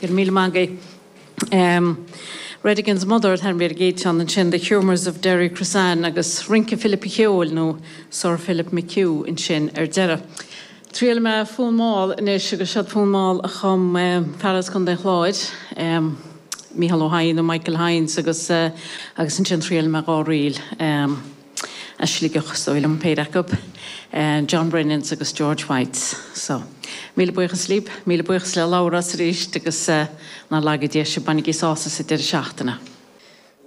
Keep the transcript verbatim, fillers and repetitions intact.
Go raibh míle maith agaibh. Um, Redigan's Mother than bhí géán ansin The Humours of Derrycrossan agus Rince Philip Cheoil nó Sir Philip McHugh ansin ar deireadh. Triail mé fonn mall anois agus seo fonn mall a chum um, fear as Contae an Chláir, um, Micheál Ó hEidhin nó Michael Hines agus uh, agus ansin triail mé dhá ríl. Um, a Sligeach so liom péire acu, uh, John Brennan's agus George White's. So míle buíochas libh, míle buíochas le Laura arís agus uh, ná laga Dia sibh bainigí sásamh sa deireadh seachtaine.